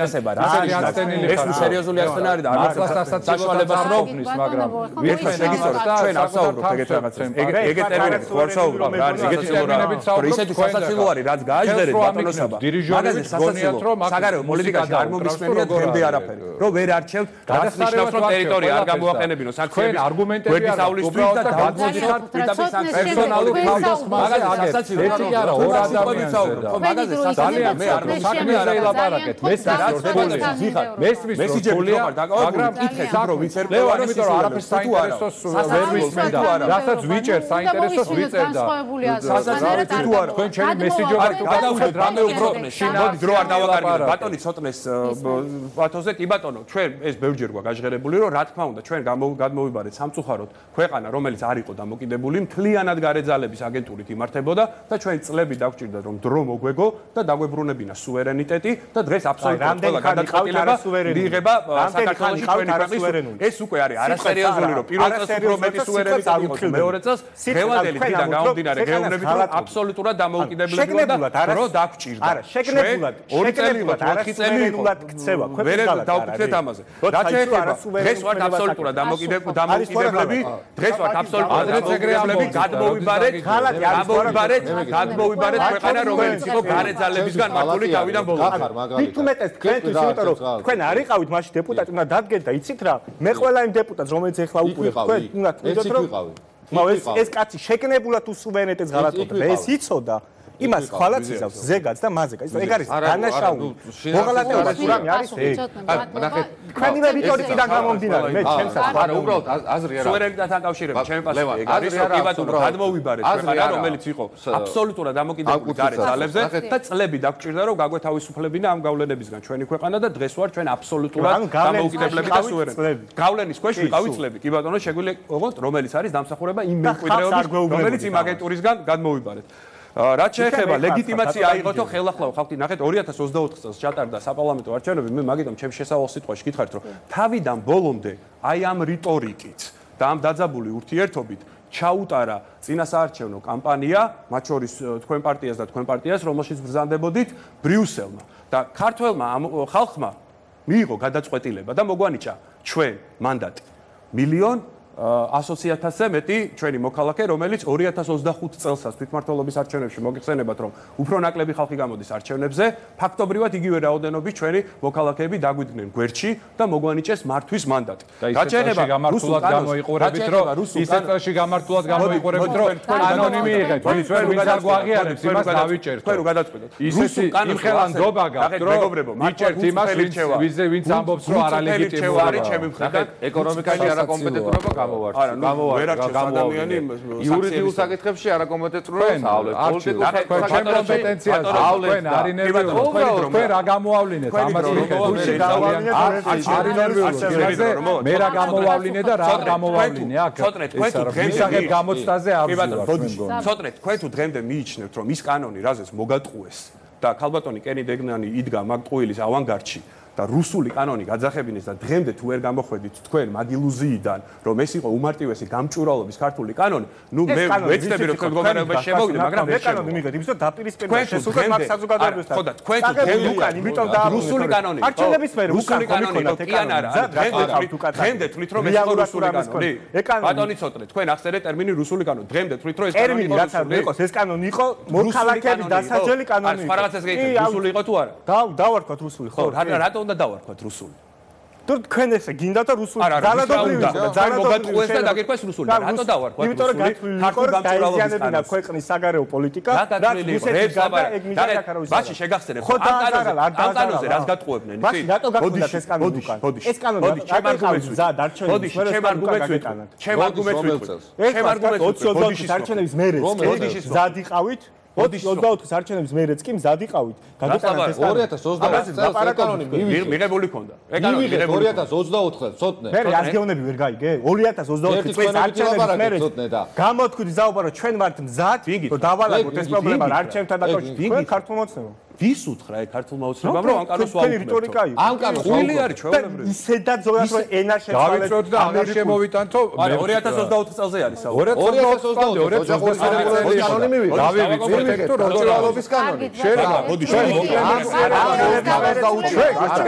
წესება რა ეს სერიოზული არცენ არის და არ საშუალებას როქმნის მაგრამ ერთად შეგიცვალოთ ჩვენ ასაუბრობთ ეგეთ რაღაცებს ეგეთ ტერმინებით ხო არ საუბრობთ რა არის ეგეთი ტერმინებით საუბრობთ ისეთი სასაცილო არის რაც გააჟდერეთ ბატონოსობა მაგაზე სასაცილო საგარეო პოლიტიკაში არ მომისმენია დღემდე არაფერი რომ ვერ არჩევთ გადასნიშნავს რომ ტერიტორია არ გამოაყენებინო საქმეები არგუმენტები არა უსწრებს და გადმოდიხარ პირდაპირ პერსონალურ თავდას მაგაზე სასაცილო არა ორ ადამიანს ხო მაგაზე ძალიან მე არ საქმე არ ელაპარაკეთ მესიჯები ხარ მაგრამ იკითხეთ რომ ვიცერ პლევარ იმიტომ რომ არაფერს საინტერესოს ვერ ვისმენდა რასაც ვიჭერ საინტერესოს ვიწერდა სასაცილო თუ არა თქვენ ჩემი მესიჯები გადავუშვით რამე უფრო შინაური დრო არ დავაკარგებთ ბატონი ცოტნეს ბათოზე კი ბატონო ჩვენ ეს ბევრჯერ გვაქვს გაჟღერებული რომ რა თქმა უნდა ჩვენ გადმოვიბარეთ სამწუხაროდ ქვეყანა რომელიც არ იყო დამოკიდებული მთლიანად გარეძალების აგენტურით იმართებოდა და ჩვენ წლები დაგვჭირდა რომ დრო მოგვეგო და დაგვებრუნებინა სუვერენიტეტი და დღეს აბსოლუტურად ყველა გადაწყვეტილება მიიღება საქართველოში ჩვენი ქვეყნის ეს უკვე არის არასერიოზული რომ პირველ წელს უფრო მეტი სუვერენიტეტი იყოს მეორე წელს დღევანდელი დღიდან გამომდინარე გეუბნებით რომ აბსოლუტურად დამოუკიდებლები და რო დაგვჭირდა არა შეგნებულად 2 წელი იყო 4 წელი იყო ქცევა ვერ დავფიქრეთ ამაზე რაც შეეხება დღეს ვართ აბსოლუტურად დამოუკიდებლები დღეს ვართ აბსოლუტურად დამოუკიდებლები გადმოვიბარეთ ქვეყანა რომელიც იყო გარეძალებისგან მართული თავიდან ბოლომდე მით უმეტეს თქვენთვის იმიტომ რომ თქვენ არ იყავით მაშინ დეპუტატი უნდა დადგეთ და იცით რა მე ყველა იმ დეპუტატს რომელიც ეხლა უკვე თქვენ უნდა თვითონ რომ ეს კაცი შეგნებულად უსუვერენიტეტს ღალატობდა ეს იცოდა იმას ხვალაც იზავს ზეგაც და მაზეგაც ეგ არის დანაშაული მოღალატეობა სურამი არის ეგ ნახეთ თქვენი რიტორიკიდან გამომდინარე მე ჩემს არა უბრალოდ აზრი არა სუვერენიტეტთან კავშირებით ჩემი პასუხი ეგ არის რომ კი ბატონო გადმოვიბარეთ ქვეყანა რომელიც იყო აბსოლუტურად დამოკიდებული გარეძალებზე და წლები დაგვჭირდა რომ გაგვეთავისუფლებინა ამ გავლენებისგან ჩვენი ქვეყანა და დღეს ვარ ჩვენ აბსოლუტურად დამოუკიდებლები და სუვერენი გავლენის ქვეშ ვიყავით წლები კი ბატონო შეგვიძლია ოღონდ რომელიც არის დამსახურება იმ მემკვიდრეობის რომელიც იმ აგენტურისგან გადმოვიბარეთ რაც შეეხება ლეგიტიმაცია აიღოთო ხელახლა ხალხი ნახეთ 2024 წელს ჩატარდა საპარლამენტო არჩევნები მე მაგიტომ ჩემს შესავალ სიტყვაში გითხარით რომ თავიდან ბოლომდე აი ამ რიტორიკით და ამ დაძაბული ურთიერთობით ჩაუტარა წინასაარჩევნო კამპანია მათ შორის თქვენ პარტიას და თქვენ პარტიას რომელშიც ბრძანდებოდით ბრიუსელმა და ქართველმა ხალხმა მიიღო გადაწყვეტილება და მოგვანიჭა ჩვენ მანდატი 1,100,000-ზე მეტი ჩვენი მოქალაქე, რომელიც 2025 წელსაც თვითმმართველობის არჩევნებში მოგიხსენებათ, რომ უფრო ნაკლები ხალხი გამოდის არჩევნებზე, ფაქტობრივად იგივე რაოდენობით ჩვენი მოქალაქეები დაგვიდგნენ გვერდში და მოგვანიჭეს მართვის მანდატი. რაც შეეხება გამართულად გამოიყურებით, რომ ისეთ წელში გამართულად გამოიყურებით, რომ კანონი მიიღეთ, ჩვენ ვინც არ გვაღიარებს, იმას დავიჭერთ. თქვენ რო გადაწყვეტოთ. ისეთი იმხელანდობა გაქვთ, რომ მიჭერთ იმას, ვინც ამბობს, რომ არალეგიტიმური არის ჩემი მხრიდან ეკონომიკაში არაკომპეტენტურობა არა, ვერ არჩევს ადამიანი იურიდიულ საკითხებში არაკომპეტენტურობას ავლეთ. პოლიტიკურ საკითხებში კომპეტენციას ავლეთ. თქვენ რა გამოავლინეთ ამას მე რა გამოავლინე და რა გამოავლინე აქ. ისაღებ გამოცდაზე არ ვარ. ცოტნე თქვენ თუ დღემდე მიიჩნევთ რომ ის კანონი რაზეც მოგატყუეს და ქალბატონი კენი დეგნანი იდგა მაგ ტყუილის ავანგარდში და რუსული კანონი გაძახებინეს და დღემდე თუ ვერ გამოხვედით თქვენ მაგ ილუზიიდან რომ ეს იყო უმარტივესი გამჭვირვალობის ქართული კანონი ნუ მე ვეცდები რომ თქვენ მდგომარეობაში შემოვიდე მაგრამ მე კანონი მიგეთ იმის რომ დაპირისპირება შესულიყო მაგ საზოგადოებასთან ხო და თქვენ თუ დღემდე იმიტომ და რუსული კანონი არჩევნების მერე რუსული კანონი კი ან არა დღემდე თვლით რომ ეს იყო რუსული კანონი ბატონი ცოტნე თქვენ ახსენეთ ტერმინი რუსული კანონი დღემდე თვლით რომ ეს კანონი იყო რუსული ეს კანონი იყო მოქალაქეების დასაჯელი კანონი სხვა რაღაცას გეკითხეთ რუსული იყო თუ არა დავარქვათ რუსული ხო რატო უნდა დავარქვათ რუსული თუ თქვენ ესე გინდა და რუსული ძალადობრივი მოგატყუეს და დაგირქვეს რუსული რატო დავარქვათ იმიტომ რომ გათვლილი დაიზიანებინა ქვეყნის საგარეო პოლიტიკა და რუსეთის გარდა ეგ მიზანი აქ არ არის ბაში შეგახსენებ ამ კანონზე რას გატყუებდნენ ბაში რატო გაგხვდა ეს კანონი უკან ეს კანონი ჩემ არგუმენტს ზა დარჩენილი ჩემ არგუმენტს 20 არჩევნების მერე ზად იყავით 24 არჩევნების მერეც კი მზად იყავით. გაგიტანეთ ეს 2024 წელს კანონი მიღებული ქონდა. ეკანონი 2024 წელს ცოტნე. მე რაზგეონები ვერ გაიგე? 2024 წელს არჩევნების მერე გამოთქვით ზაუბარო ჩვენ ვართ მზად, რომ დავალაგოთ ეს პრობლემა არჩევნთან დაკავშირებით. თქვენ ქართულმა ოცნებამ. ვის უთხრა ეგ ქართულმა ოცნებამ რომ ამ კანონს ვაუქმებთ? ამ კანონს ხული არის ჩვეულებრივი. ისედაც ზოგადად რომ ენა შეცვალეთ. დავიწევთ და ამერ შემოვიტანთო. 2024 წელზე არის საუბარი. 2024 წელს კანონი მივიღეთ. დავივიწევთ ექტორ როჭრალობის კანონი. შეიძლება, მოდი,